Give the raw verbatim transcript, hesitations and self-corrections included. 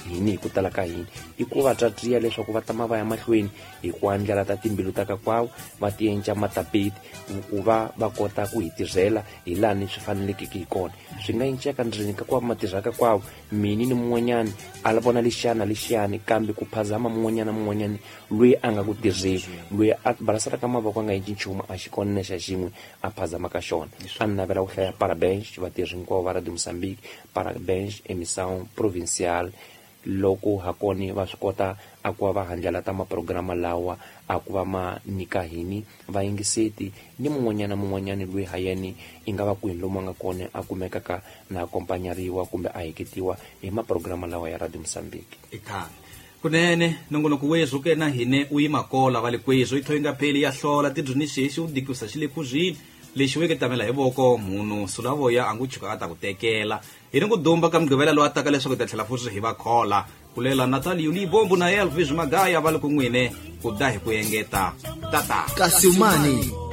Hini hi ku tala ka hini i ku va tsatsiya leswaku va tama va ya mahlweni hi ku andlala ta timbilu ta ka kwavo, va tienca matapeti ku va va kota ku hi tirhela hi lani swi fanelekeke hi kona. Swi nga enceka ndzeni ka kwavo matirha ka kwavo mini ni mun'wanyani a la vona lexiyana lexiyani, kambe ku phazama mun'wanyana mun'wanyani loyi a nga ku tirheni, loyi a balasela ka mavoko a nga endli nchumu a xi kona na xa xin'we a phazama ka xona. A ni navela ku hlaya parabéns vatirhi hinkwavo va Radio Moçambique, parabéns emissão provincial loko hakoni va swi kota a ku va va handlalata maprograma lawa a ku va ma nyika hini vayingiseti ni mun'wanyana mun'wanyani loyi ha yena i nga va kwihi lomu a nga kona a kumekaka na akompanyariwa kumbe a heketiwa hi maprograma lawa ya Radio Moçambique. Ikhale kunene nongonoko wezwo ke na hine u yima kola va le kwezwo i thoyi nga pheli ya hlola tidzunixexi u dikusa xi le kuzwini lexi weke tamela hi voko munhu sulavoya a ngu chuka a ta ku tekela hi ni ku dumba ka mugqivela lowu a taka leswaku hi ta tlhela futhi hi va khola kulela Natal Yulibombo na Elvis Magaya va le ku n'wine ku da hi ku engeta tata Kasimani.